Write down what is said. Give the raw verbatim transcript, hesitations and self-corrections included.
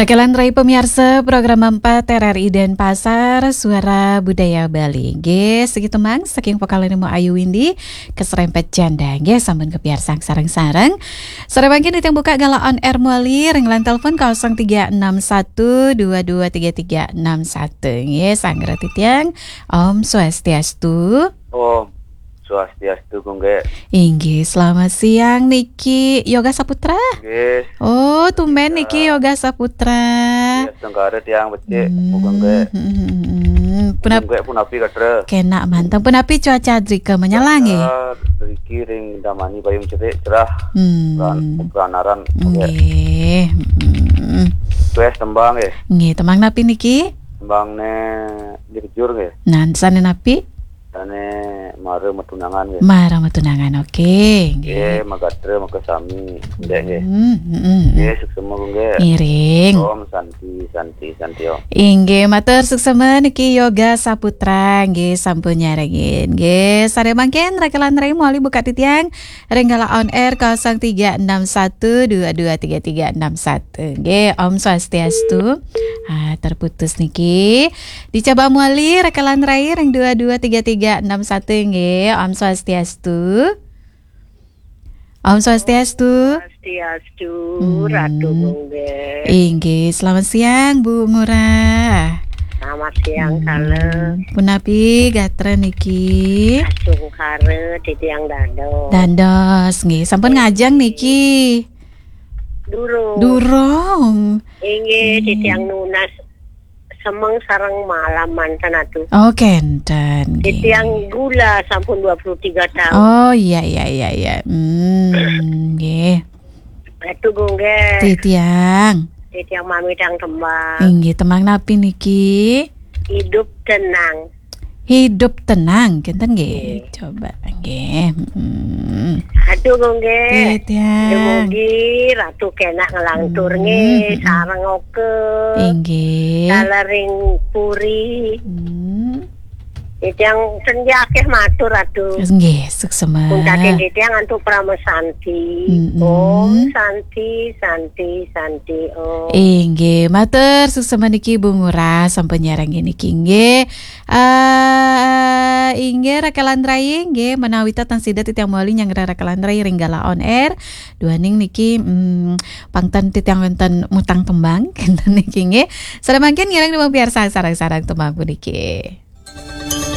Kekalih rai pamiarsa program empat R R I Denpasar, Suara Budaya Bali. Nggih, siki tembang saking vokalipun Ayu Windy, Keserempet Janda. Nggih, sampun kapiarsang sareng-sareng. Sore mangkin titiang buka galah on air malih ring line telepon kosong tiga enam satu dua dua tiga tiga enam satu. Nggih, sanggra titiang. Om Swastiastu. Om Swastiastu, Gung Gé. Inggih, selamat siang niki Yoga Saputra. Nggih. Oh, tumben niki Yoga Saputra. Iya, sengkara tiang becik, hmm, Gung Gé. Hmm, hmm, hmm, hmm. Punap- Gung Gé punapi gatra? Kenak manteng. Punapi cuaca drika menyala nggih? Cuaca driki ring damani payung cerik, cerah. Hmm. Pran-, pranaran, Gung Gé. Nggih. Hmm. Request tembang nggih. Nggih, tembang napi niki? Tembangné Dirjur nggih. Nah, sané napi? Sané Mara Matunangan nggih. Mara Matunangan, oke, nggih. Nggih, magatra maka sami, nggih, nggih. Hmm, hmm, hmm. Nggih, suksema, Gung Gé. Ngiring. Om Santi, Santi, Santi, Om. Inggih, matur suksema niki Yoga Saputra, nggih, sampun nyarengin. Nggih, sare mangkin rekelan rai malih buka titiang ring galah on air kosong tiga enam satu dua dua tiga tiga enam satu. Nggih, Om Swastiastu. Ah, terputus niki. Dicoba malih rekelan rai ring dua dua tiga tiga enam satu nggih. Om Swastiastu. Om Swastiastu. Swastiastu, hmm. Ratu Gung Gé. Inggih, selamat siang Bu Ngurah. Selamat siang, hmm. Kala. Punapi gatra niki? Asungkara titiang dados. Dados, nggih. Sampun ngajeng niki? Durung. Durung. Inggih, hmm. Titiang nunas semeng sareng malam manten atu. Oh, kenten, nggih. Titiang gula sampun dua puluh tiga tahun. Oh, iya, iya, iya, iya. Hmm, nggih. Ratu Gung Gé. Titiang. Titiang mamitang tembang. Inggih, tembang napi niki? Hidup Tenang. Hidup Tenang, kenten nggih. Nggih. Coba, nggih. Hmm. Aduh, Gung Gé. Titiang. Dumugi Ratu kenak ngelantur, hmm, nggih, hmm. Sareng oka. Inggih. Kala ring puri. Hmm. Titiang senja akeh matur, Ratu. Nggih, suksema. Pun kaken titiang antuk Parama Santi. Mm-mm. Om Santi, Santi, Santi, Om. Inggih, matur suksema niki Bu Ngurah sampun nyarengin niki nggih. Eh, inggih rekelan rai nggih, menawi ten sida titiang malih nyanggra rekelan rai ring galah on air. Duaning niki, mm, pang ten titiang wenten mutang tembang kenten niki nggih. Sare mangkin ngiring dumun piarsang sareng-sareng tembang puniki.